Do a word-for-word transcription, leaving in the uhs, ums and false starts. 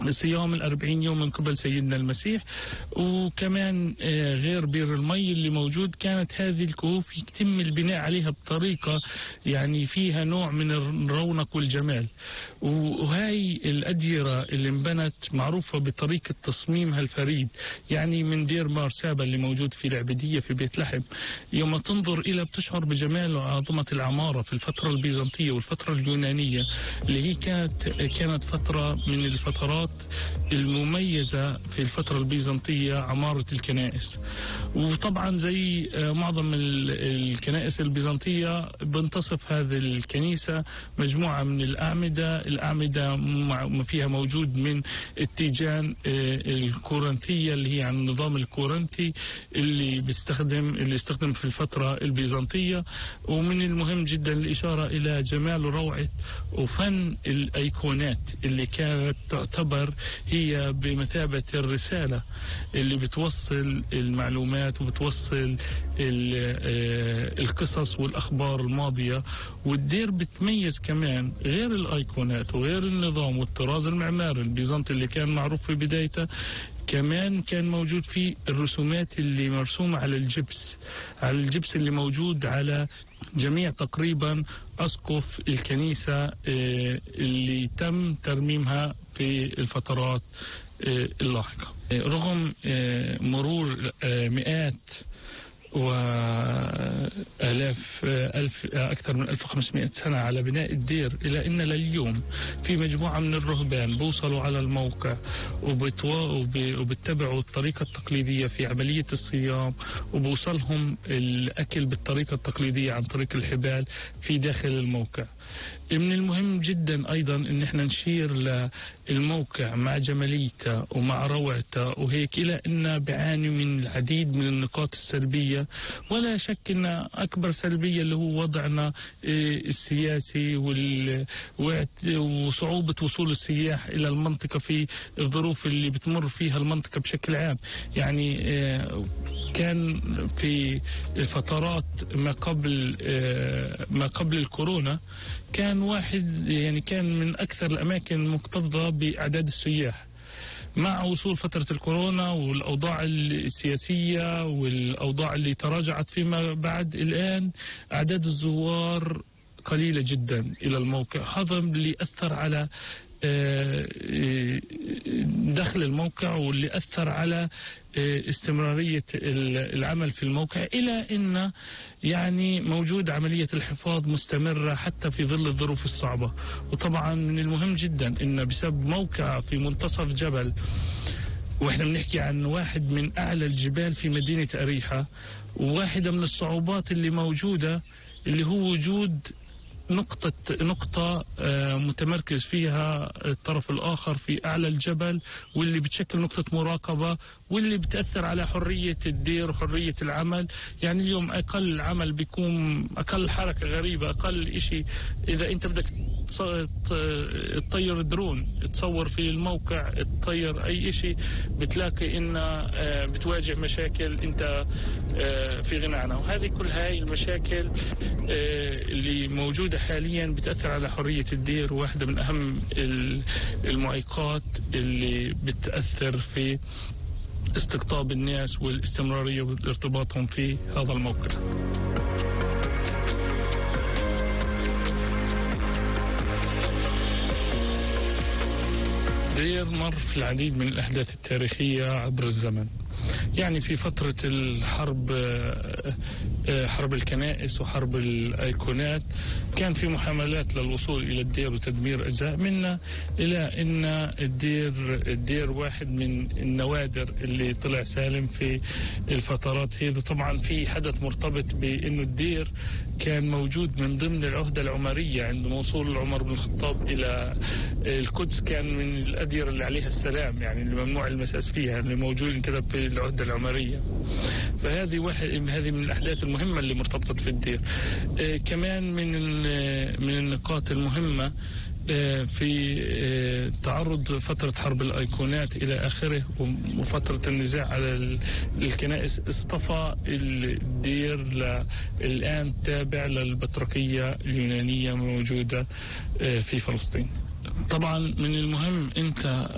صيام الأربعين يوم من قبل سيدنا المسيح. وكمان غير بير المي اللي موجود، كانت هذه الكهوف يتم البناء عليها بطريقة يعني فيها نوع من الرونق والجمال. وهاي الأديرة اللي انبنت معروفة بطريقة تصميمها الفريد، يعني من دير مارسابا اللي موجود في العبيدية في بيت لحم. يوم تنظر إلى بتشعر بجمال وعظمة العمارة في الفترة البيزنطية والفترة اليونانية، اللي هي كانت كانت فترة من الفترات المميزة في الفترة البيزنطية، عمارة الكنائس. وطبعا زي معظم الكنائس البيزنطية بنتصف هذه الكنيسة مجموعة من الأعمدة الأعمدة فيها موجود من التيجان الكورنثية اللي هي عن النظام الكورنثي اللي بيستخدم اللي استخدم في الفترة البيزنطية. ومن المهم جدا الإشارة إلى جمال وروعة وفن الأيقونات اللي كانت تعتبر هي بمثابة الرسالة اللي بتوصل المعلومات وبتوصل القصص والأخبار الماضية. والدير بتميز كمان غير الأيقونات وغير النظام والطراز المعماري البيزنطي اللي كان معروف في بدايته، كمان كان موجود فيه الرسومات اللي مرسومة على الجبس على الجبس اللي موجود على جميع تقريبا أسقف الكنيسة اللي تم ترميمها في الفترات اللاحقة. رغم مرور مئات وآلاف ألف أكثر من ألف وخمسمائة سنة على بناء الدير، إلى أن لليوم في مجموعة من الرهبان بوصلوا على الموقع وبتبعوا الطريقة التقليدية في عملية الصيام، وبوصلهم الأكل بالطريقة التقليدية عن طريق الحبال في داخل الموقع. من المهم جدا أيضا أن احنا نشير للموقع مع جماليته ومع روعته وهيك، إلى أنه بيعاني من العديد من النقاط السلبية، ولا شك أن أكبر سلبية اللي هو وضعنا السياسي وصعوبة وصول السياح إلى المنطقة في الظروف اللي بتمر فيها المنطقة بشكل عام. يعني كان في الفترات ما قبل ما قبل الكورونا كان واحد يعني كان من أكثر الأماكن مكتظة بأعداد السياح. مع وصول فترة الكورونا والأوضاع السياسية والأوضاع اللي تراجعت فيما بعد، الآن أعداد الزوار قليلة جدا إلى الموقع. هذا اللي أثر على دخل الموقع واللي أثر على استمرارية العمل في الموقع، إلى أن يعني موجود عملية الحفاظ مستمرة حتى في ظل الظروف الصعبة. وطبعا من المهم جدا أن بسبب موقع في منتصف جبل، وإحنا بنحكي عن واحد من أعلى الجبال في مدينة أريحة، وواحدة من الصعوبات اللي موجودة اللي هو وجود نقطة نقطة متمركز فيها الطرف الآخر في أعلى الجبل، واللي بتشكل نقطة مراقبة واللي بتأثر على حرية الدير وحرية العمل. يعني اليوم أقل عمل بيكون أقل حركة غريبة، أقل إشي إذا أنت بدك تطير درون تصور في الموقع، تطير أي إشي، بتلاقي إن بتواجه مشاكل أنت في غنى عنها. وهذه كل هاي المشاكل اللي موجودة حاليا بتأثر على حرية الدير، واحدة من أهم المعيقات اللي بتأثر في استقطاب الناس والاستمرارية وارتباطهم في هذا الموقع. دير مر في العديد من الأحداث التاريخية عبر الزمن. يعني في فترة الحرب حرب الكنائس وحرب الأيقونات كان في محاولات للوصول إلى الدير وتدمير أجزاء منه، إلى أن الدير الدير واحد من النوادر اللي طلع سالم في الفترات هذه. طبعا في حدث مرتبط بأنه الدير كان موجود من ضمن العهدة العمرية. عند وصول عمر بن الخطاب إلى القدس كان من الأديرة اللي عليها السلام، يعني اللي ممنوع المساس فيها، اللي موجود كده في العهدة العمرية. فهذه واحد هذه من الأحداث المهمة اللي مرتبطة في الدير. آه كمان من من النقاط المهمة آه في آه تعرض فترة حرب الأيقونات إلى آخره وفترة النزاع على الكنائس، اصطفى الدير الآن تابع للبطريركية اليونانية موجودة آه في فلسطين. طبعا من المهم أنت